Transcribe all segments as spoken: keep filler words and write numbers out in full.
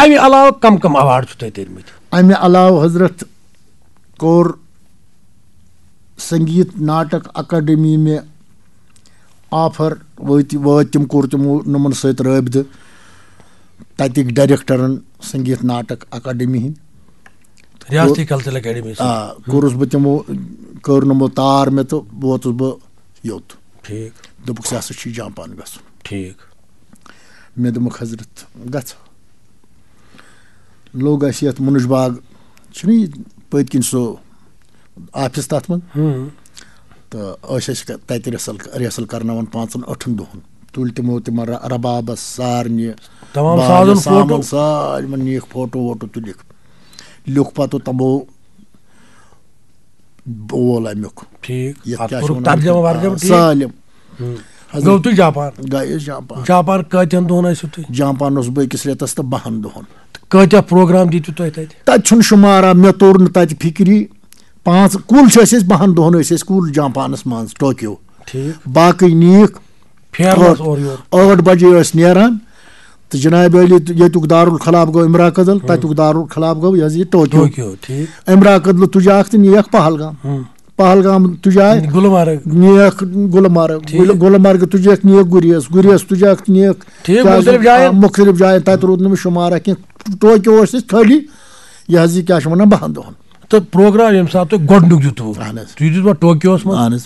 اَمہِ علاوٕ کم کم ایوارڈ چھِو تۄہہِ تٔرمٕتۍ؟ اَمہِ علاوٕ حضرت کوٚر سنگیت ناٹک اکیڈمی مےٚ آفر، وٲتۍ وٲتۍ تِم، کوٚر تِمو نومن سۭتۍ رٲبطہٕ، تَتِکۍ ڈائریکٹرن سنگیت ناٹک اکیڈمی ہٕنٛدۍ۔ ریاستی کلچرل اکیڈمی سۭتۍ۔ آ، کوٚرُس بہٕ تِمو، کٔر نومو تار مےٚ تہٕ ووتُس بہٕ یوٚت۔ ٹھیٖک۔ دوٚپُکھ، "ژےٚ ہسا چھُے جاپان گژھُن۔" ٹھیٖک۔ مےٚ دوٚپمَکھ، "حضرت، گژھٕ۔" لوٚگ اَسہِ یَتھ مُنُش باغ، چھُنہٕ یہِ پٔتۍ کِنۍ سُہ آفِس تَتھ منٛز؟ ہُم۔ تہٕ ٲسۍ أسۍ ک-، تَتہِ رِہرسل، رِہرسل کَرناوان پانٛژَن ٲٹھَن دۄہَن۔ تُلۍ تِمو تِمَن ر-، ربابَس، سارنہِ، تمام باجہِ، سازَن سامان، فوٹو؟ سارِمَن نِیَکھ فوٹو ووٹو تُلِکھ۔ لیوٚکھ پَتہٕ تِمو وول اَمیُک۔ ٹھیٖک۔ یَتھ اَتھ کیٛاہ چھِ کوٚرُکھ وَنان؟ ترجمہٕ ورجمہٕ آ، ٹھیٖک؟ سٲلِم۔ ہُم۔ حضرت، گوٚو تُہۍ جاپان؟ گٔیَس جاپان۔ جاپان کۭتٮ۪ن دۄہَن ٲسِو تُہۍ؟ جاپان اوسُس بہٕ أکِس رٮ۪تَس تہٕ بَہَن دۄہَن۔ تہٕ کۭتیٛاہ پروگرام دِتِو تۄہہِ تَتہِ؟ تَتہِ چھُنہٕ شُمارا، مےٚ توٚر نہٕ تَتہِ فِکری۔ پانٛژھ، کُل چھِ أسۍ، أسۍ بَہَن دۄہَن ٲسۍ أسۍ کُل جاپانَس منٛز، ٹوکیو۔ ٹھیٖک۔ باقٕے نِیَکھ پھیرنَس ٲٹھ، اورٕ یورٕ۔ ٲٹھ بجے ٲسۍ نیران۔ تہٕ جناب عٲلی، ییٚتیُک دارالخلاب گوٚو امراکدل، ہُم۔ تَتیُک دارالخلاب گوٚو یہِ حظ یہِ ٹوکیو۔ ٹوکیو، ٹھیٖک۔ امراکدلہٕ تُجاکھ تہٕ نِیَکھ پہلگام۔ ہُم۔ پہلگام تُجاے گُلمرگ۔ نِیَکھ گُلمرگ۔ ٹھیٖک۔ گُل-، گُلمرگہٕ تُجَکھ نِیَکھ گُریز۔ گُریز تُجَکھ نِیَکھ ٹھیٖک، کیٛازِ؟ مُختلف جایَن۔ آ، مُختلف جایَن۔ تَتہِ روٗد نہٕ مےٚ شُمارا کینٛہہ۔ ٹوکیو ٲسۍ أسۍ خٲلی، یہِ حظ یہِ کیٛاہ چھِ وَنان، بَہَن دۄہَن۔ تہٕ پروگرام ییٚمہِ ساتہٕ تۄہہِ گۄڈٕنیُک دیُتوُ، اہن حظ۔ تُہۍ دیُتوا ٹوکیوَس منٛز؟ اہن حظ۔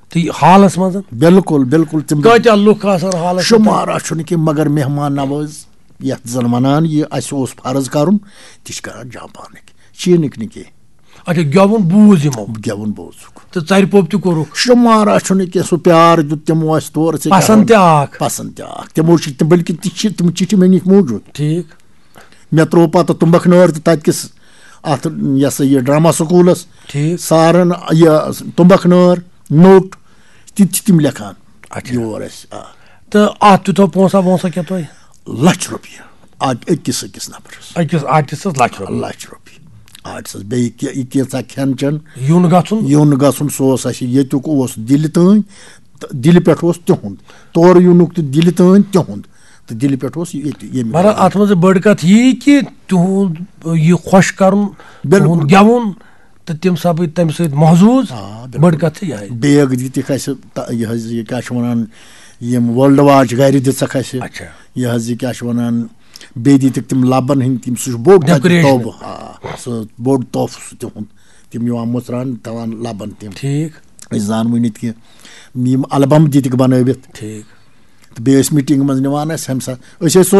تہٕ یہِ حالَس منٛز؟ بِلکُل، بِلکُل۔ تِم کۭتیٛاہ لُکھ آسَن حالَس منٛز؟ شُمارا چھُنہٕ کینٛہہ، مگر مہمان نواز یَتھ زَن وَنان یہِ اَسہِ اوس فرض کَرُن، تہِ چھِ کَران جاپانٕکۍ، چیٖنٕکۍ نہٕ کینٛہہ۔ اچھا، گٮ۪وُن بوٗز یِمو؟ گٮ۪وُن بوٗزُکھ۔ تہٕ ژَرِ پوٚپ تہِ کوٚرُکھ؟ شُمارا چھُنہٕ کینٛہہ، سُہ پیار دیُت تِمو اَسہِ تورٕ، ژےٚ کیٛاہ پَسنٛد وَنہٕ؟ تہِ آکھ۔ پَسنٛد تہِ آکھ۔ تِمو چھِ تِم، بلکہِ تہِ چھِ تِم چِٹھِ مےٚ نِش موٗجوٗد۔ ٹھیٖک۔ مےٚ ترٛوو پَتہٕ تُمبَکھ نٲر تہٕ تَتہِ کِس اَتھ، یہِ ہسا یہِ ڈرٛاما سکوٗلَس ٹھیٖک۔ سارَن یہِ تُمبَکھ نٲر، نوٚٹ، تہِ تہِ چھِ تِم لیکھان اچھا۔ یور اَسہِ، آ۔ تہٕ اَتھ دیُتوا پونٛسہ وونٛسہ کینٛہہ تۄہہِ؟ لَچھ رۄپیہِ۔ اَکھ أکِس أکِس نفرَس۔ أکِس آرٹِسٹَس لَچھ رۄپیہِ۔ لَچھ رۄپیہِ۔ آرٹِسَس بیٚیہِ کہِ-، یہِ کینٛژھا کھٮ۪ن چٮ۪ن۔ یُن گژھُن۔ یُن گژھُن، سُہ اوس اَسہِ ییٚتیُک اوس دِلہِ تام، تہٕ دِلہِ پٮ۪ٹھ اوس تِہُنٛد۔ تورٕ یُنُک تہِ دِلہِ تام تِہُنٛد۔ تہٕ دِلہِ پٮ۪ٹھ اوس ییٚتہِ ییٚمہِ مگر وِزِ۔ اَتھ منٛز چھِ بٔڑ کَتھ یی کہِ تِہُنٛد یہِ خۄش کَرُن، بِلکُل۔ تِہُنٛد گٮ۪وُن تہٕ تِم سَپٕدۍ تَمہِ سۭتۍ محظوٗظ۔ آ، بِلکُل۔ بٔڑ کَتھ چھِ یِہوٚے۔ بیگ دِتِکھ اَسہِ تہ-، یہِ حظ یہِ کیٛاہ چھِ وَنان، یِم world watch گَرِ دِژَکھ اَسہِ۔ اچھا۔ یہِ حظ یہِ کیٛاہ چھِ وَنان، بیٚیہِ دِتِکھ تِم لَبَن ہٕنٛدۍ تِم، سُہ چھُ بوٚڑ تَتہِ decoration۔ تحفہٕ۔ آ، سُہ بوٚڑ تحفہٕ سُہ تِہُنٛد۔ تِم یِوان مُژراونہٕ، تھاوان لَبَن تِم۔ ٹھیٖک۔ أسۍ زانوٕے نہٕ کینٛہہ۔ یِم البم دِتِکھ بَنٲوِتھ۔ ٹھیٖک۔ تہٕ بیٚیہِ ٲسۍ میٖٹِنٛگ منٛز نِوان اَسہِ ہمسا-، أسۍ ٲسۍ